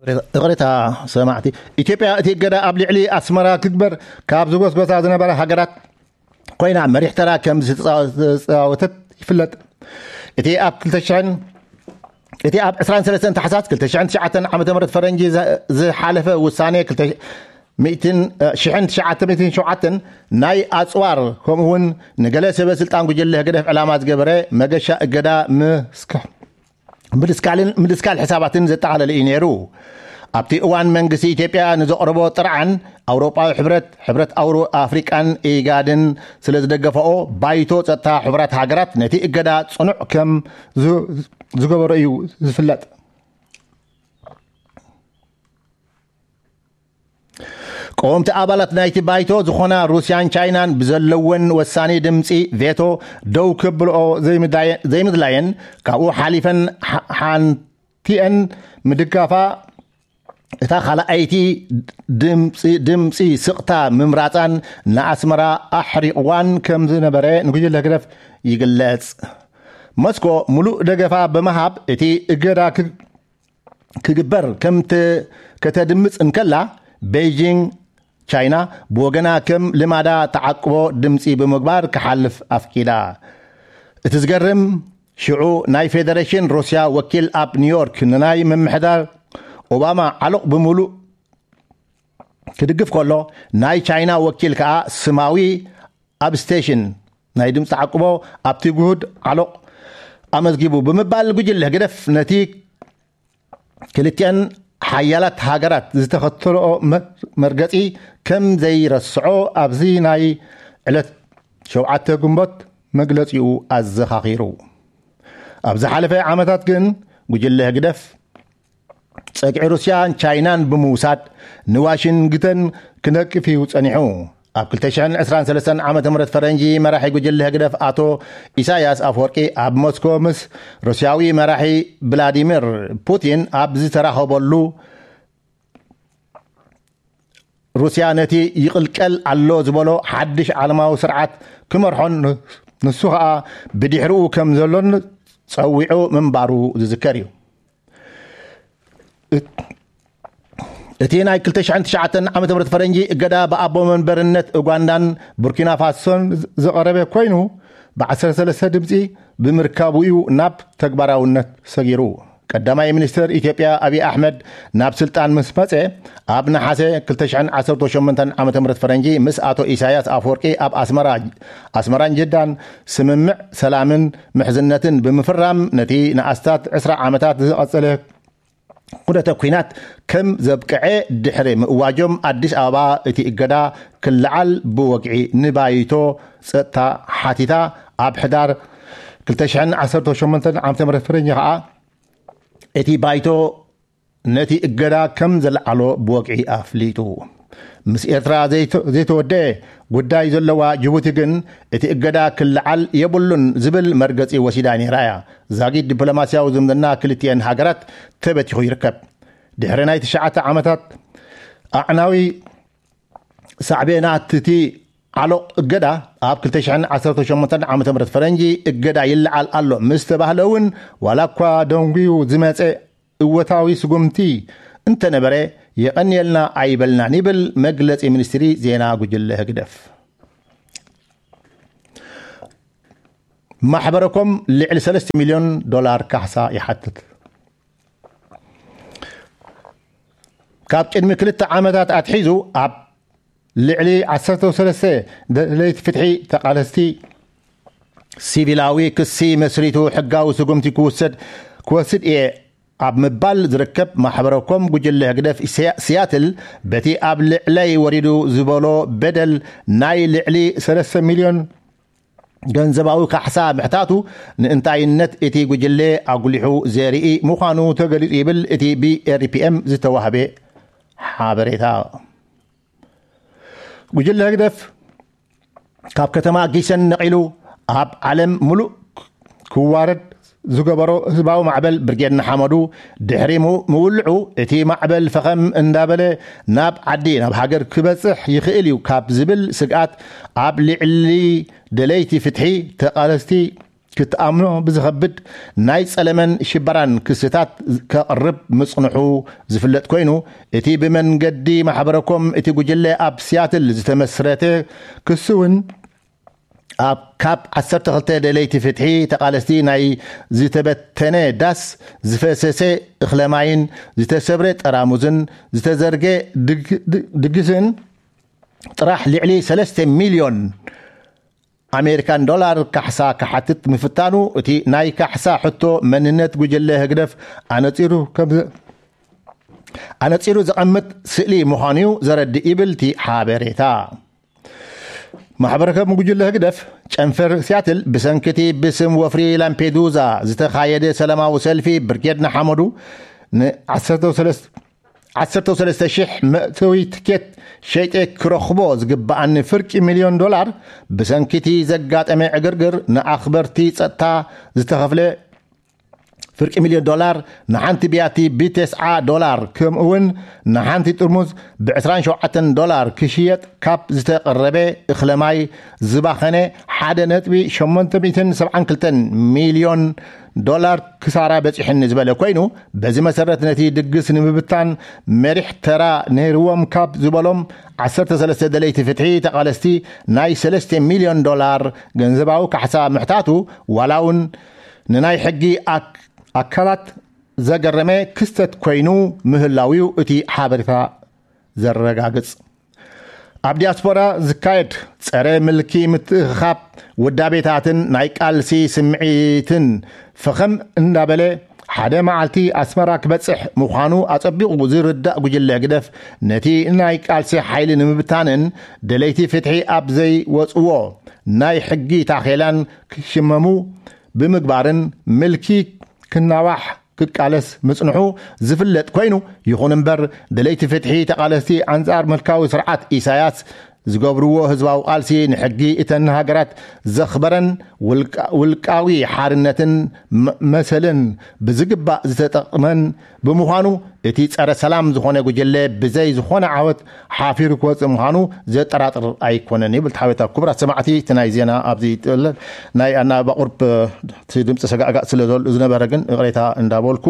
ይቕሬታ ሰማዕቲ፣ ኢትዮጵያ እቲ እገዳ ኣብ ልዕሊ ኣስመራ ክግበር ካብ ዝጎስጎሳ ዝነበራ ሃገራት ኮይና መሪሕ ተራ ከም ዝተፃወተት ይፍለጥ። እቲ ኣብ ክልተ ሽሕን እቲ ኣብ ዕስራን ሰለስተን ታሕሳስ ክልተ ሽሕን ትሽዓተን ዓመተ ምህረት ፈረንጂ ዝሓለፈ ውሳኔ ክልተ ሽሕን ትሽዓተ ሚእትን ሸውዓተን ናይ ኣፅዋር ከምኡ እውን ንገለ ሰበ ስልጣን ጉጅለ ህግደፍ ዕላማ ዝገበረ መገሻ እገዳ ምስክሕ ምድስካልን ምድስካል ሕሳባትን ዘጠቓለለ እዩ ነይሩ። ኣብቲ እዋን መንግስቲ ኢትዮጵያ ንዘቕረቦ ጥርዓን ኣውሮጳዊ ሕብረት፣ ሕብረት ኣውሮ ኣፍሪቃን ኢጋድን ስለ ዝደገፈኦ ባይቶ ጸጥታ ሕቡራት ሃገራት ነቲ እገዳ ጽኑዕ ከም ዝገበሮ እዩ ዝፍለጥ። ቀወምቲ ኣባላት ናይቲ ባይቶ ዝኾና ሩስያን ቻይናን ብዘለወን ወሳኒ ድምፂ ቬቶ ደው ክብልኦ ዘይምድላየን ካብኡ ሓሊፈን ሓንቲአን ምድጋፋ እታ ካልኣይቲ ድምፂ ስቕታ ምምራፃን ንኣስመራ ኣሕሪቕዋን ከም ዝነበረ ንጉጅለ ህግደፍ ይግለፅ። ሞስኮ ሙሉእ ደገፋ ብምሃብ እቲ እገዳ ክግበር ከም ከተድምፅ እንከላ፣ ቤይጂንግ ቻይና ብወገና ከም ልማዳ ተዓቅቦ ድምፂ ብምግባር ክሓልፍ ኣፍቂዳ። እቲ ዝገርም ሽዑ ናይ ፌደሬሽን ሩስያ ወኪል ኣብ ኒውዮርክ ንናይ ምምሕዳር ኦባማ ዓሎቕ ብምሉእ ክድግፍ ከሎ፣ ናይ ቻይና ወኪል ከኣ ስማዊ ኣብ ስቴሽን ናይ ድምፂ ተዓቅቦ ኣብቲ ጉሁድ ዓሎቕ ኣመዝጊቡ ብምባል ጉጅለ ህግደፍ ነቲ ክልቲኣን ሓያላት ሃገራት ዝተኸተልኦ መርገፂ ከም ዘይረስዖ ኣብዚ ናይ ዕለት ሸውዓተ ግንቦት መግለፂኡ ኣዘኻኺሩ። ኣብ ዝሓለፈ ዓመታት ግን ጉጅለ ህግደፍ ፀግዒ ሩስያን ቻይናን ብምውሳድ ንዋሽንግተን ክነቅፍ እዩ ፀኒሑ። ኣብ ክልተ ሽሕን ዕስራን ሰለስተን ዓመተ ምህረት ፈረንጂ መራሒ ጉጅለ ህግደፍ ኣቶ ኢሳያስ ኣፈወርቂ ኣብ ሞስኮ ምስ ሩስያዊ መራሒ ቭላዲሚር ፑቲን ኣብ ዝተራኸበሉ፣ ሩስያ ነቲ ይቕልቀል ኣሎ ዝበሎ ሓድሽ ዓለማዊ ስርዓት ክመርሖን ንሱ ኸኣ ብድሕሪኡ ከም ዘሎን ጸዊዑ ምንባሩ ዝዝከር እዩ። እቲ ናይ ክልተ ሽሕን ትሽዓተን ዓመተ ምህረት ፈረንጂ እገዳ ብኣቦ መንበርነት ኡጋንዳን ቡርኪና ፋሶን ዝቐረበ ኮይኑ፣ ብ ዓሰርተ ሰለስተ ድምጺ ብምርካቡ እዩ ናብ ተግባራውነት ሰጊሩ። ቀዳማይ ሚኒስትር ኢትዮጵያ ኣብይ ኣሕመድ ናብ ስልጣን ምስ መጸ፣ ኣብ ነሓሰ ክልተ ሽሕን ዓሰርተ ሸሞንተን ዓመተ ምህረት ፈረንጂ ምስ ኣቶ ኢሳያስ ኣፈወርቂ ኣብ ኣስመራ፣ ኣስመራን ጅዳን ስምምዕ ሰላምን ምሕዝነትን ብምፍራም፣ ነቲ ንኣስታት ዕስራ ዓመታት ዝቐጸለ ኩነተ ኲናት ከም ዘብቅዐ ድሕሪ ምእዋጆም፣ ኣዲስ ኣበባ እቲ እገዳ ክለዓል ብወግዒ ንባይቶ ጸጥታ ሓቲታ። ኣብ ሕዳር ክልተ ሽሕን ዓሰርተ ሸሞንተን ዓመተ ምህረት ፈረንጂ ኸኣ እቲ ባይቶ ነቲ እገዳ ከም ዘልዓሎ ብወግዒ ኣፍሊጡ። ምስ ኤርትራ ዘይተ-፣ ዘይተወደአ ጉዳይ ዘለዋ ጅቡቲ ግን እቲ እገዳ ክለዓል የብሉን ዝብል መርገጺ ወሲዳ ነይራ እያ። ዛጊት ዲፕሎማስያዊ ዝምድና ክልቲኤን ሃገራት ተበቲኹ ይርከብ። ድሕሪ ናይ ትሽዓተ ዓመታት ኣዕናዊ ሳዕቤናት እቲ ዓሎቕ እገዳ፣ ኣብ ክልተ ሽሕን ዓሰርተ ሸሞንተን ዓመተ ምህረት ፈረንጂ እገዳ ይለዓል ኣሎ ምስ ተባህለ እውን፣ ዋላ እኳ ደንጉዩ ዝመጸ እወታዊ ስጉምቲ እንተነበረ፣ የቐንየልና ኣይበልናን ይብል መግለጺ ሚኒስትሪ ዜና ጉጅለ ህግደፍ። ማሕበረኮም ልዕሊ ሰለስተ ሚልዮን ዶላር ካሕሳ ይሓትት። ካብ ቅድሚ ክልተ ዓመታት ኣትሒዙ ኣብ ልዕሊ ዓሰርተ ሰለስተ ደለይቲ ፍትሒ ተቓለስቲ ሲቪላዊ ክሲ መስሪቱ ሕጋዊ ስጉምቲ ክውሰድ፣ ክወስድ እየ ኣብ ምባል ዝርከብ ማሕበረኮም ጉጅለ ህግደፍ ሲያ-፣ ሲያትል በቲ ኣብ ልዕለይ ወሪዱ ዝበሎ በደል ናይ ልዕሊ ሰለስተ ሚልዮን ገንዘባዊ ካሕሳ ምሕታቱ ንእንታይነት እቲ ጉጅለ ኣጉሊሑ ዘርኢ ምዃኑ ተገሊጹ ይብል እቲ ብ ኤር ፒ ኤም ዝተዋህበ ሓበሬታ። ጉጅለ ህግደፍ ካብ ከተማ ጊሰን ነቒሉ ኣብ ዓለም ምሉእ ክዋረድ ዝገበሮ ህዝባዊ ማዕበል ብርጌድ ንሓመዱ ድሕሪ ሙ-፣ ምውልዑ፣ እቲ ማዕበል ፈኸም እንዳበለ ናብ ዓዲ፣ ናብ ሃገር ክበጽሕ ይኽእል እዩ ካብ ዝብል ስግኣት፣ ኣብ ልዕሊ ደለይቲ ፍትሒ ተቓለስቲ ክትኣምኖ ብዝኸብድ ናይ ጸለመን ሽበራን ክስታት ከቕርብ ምጽንሑ ዝፍለጥ ኮይኑ፣ እቲ ብመንገዲ ማሕበረኮም እቲ ጉጅለ ኣብ ሲያትል ዝተመስረተ ክሲ እውን ኣብ ካብ ዓሰርተ ክልተ ደለይቲ ፍትሒ ተቓለስቲ ናይ ዝተበተነ ዳስ፣ ዝፈሰሰ እኽለ ማይን ዝተሰብረ ጠራሙዝን ዝተዘርገ ድግ- ድግ- ድግስን ጥራሕ ልዕሊ ሰለስተ ሚልዮን ኣሜሪካን ዶላር ካሕሳ ክሓትት ምፍታኑ፣ እቲ ናይ ካሕሳ ሕቶ መንነት ጉጅለ ህግደፍ ኣነጺሩ ከም ኣነጺሩ ዘቐምጥ ስእሊ ምዃኑ እዩ ዘረድእ ይብል እቲ ሓበሬታ። ማሕበረከም ጉጅለ ህግደፍ ጨንፈር ሲያትል ብሰንክቲ ብስም ወፍሪ ላምፔዱዛ ዝተኻየደ ሰላማዊ ሰልፊ ብርጌድ ንሓመዱ ን ዓሰርተ ሰለስተ ሺሕ መእተዊ ትኬት ሸይጠ ክረኽቦ ዝግብኣኒ ፍርቂ ሚልዮን ዶላር ብሰንኪቲ ዘጋጠመ ዕግርግር ንኣኽበርቲ ጸጥታ ዝተኸፍለ ፍርቂ ሚልዮን ዶላር፣ ንሓንቲ ቢያቲ ብተስዓ ዶላር፣ ከምኡ እውን ንሓንቲ ጥርሙዝ ብ ዕስራን ሸውዓተን ዶላር ክሽየጥ ካብ ዝተቐረበ እኽለ ማይ ዝባኸነ ሓደ ነጥቢ ሸሞንተ ሚእትን ሰብዓን ክልተን ሚልዮን ዶላር ክሳራ በፂሕኒ ዝበለ ኮይኑ፣ በዚ መሰረት ነቲ ድግስ ንምብታን መሪሕ ተራ ነይርዎም ካብ ዝበሎም ዓሰርተ ሰለስተ ደለይቲ ፍትሒ ተቓለስቲ ናይ ሰለስተ ሚልዮን ዶላር ገንዘባዊ ካሕሳ ምሕታቱ፣ ዋላ እውን ንናይ ሕጊ ኣክ- ኣካላት ዘገረመ ክስተት ኮይኑ ምህላው እዩ እቲ ሓበሬታ ዘረጋግጽ። ኣብ ዲያስፖራ ዝካየድ ጸረ ምልኪ ምትእኽኻብ ውዳቤታትን ናይ ቃልሲ ስምዒትን ፈኸም እንዳበለ ሓደ መዓልቲ ኣስመራ ክበጽሕ ምዃኑ ኣጸቢቑ ዝርዳእ ጉጅለ ህግደፍ፣ ነቲ ናይ ቃልሲ ሓይሊ ንምብታንን ደለይቲ ፍትሒ ኣብ ዘይወጽዎ ናይ ሕጊ ታኼላን ክሽመሙ ብምግባርን ምልኪ ክናዋሕ ክቃለስ ምጽንሑ ዝፍለጥ ኮይኑ፣ ይኹን እምበር ደለይቲ ፍትሒ ተቓለስቲ ኣንጻር ምልካዊ ስርዓት ኢሳያስ ዝገብርዎ ህዝባዊ ቃልሲ ንሕጊ እተን ሃገራት ዘኽበረን ውልቃ- ውልቃዊ ሓርነትን መ- መሰልን ብዝግባእ ዝተጠቕመን ብምዃኑ፣ እቲ ጸረ ሰላም ዝኾነ ጉጅለ ብዘይ ዝኾነ ዓወት ሓፊሩ ክወጽእ ምዃኑ ዘጠራጥር ኣይኮነን ይብል። ተሓቤታ ክቡራት ሰማዕቲ፣ እቲ ናይ ዜና ኣብዚ ይጥለል። ናይ ኣናባባ ቁርብ እቲ ድምፂ ሰጋእጋእ ስለ ዘሎ ዝነበረ ግን ይቕሬታ እንዳበልኩ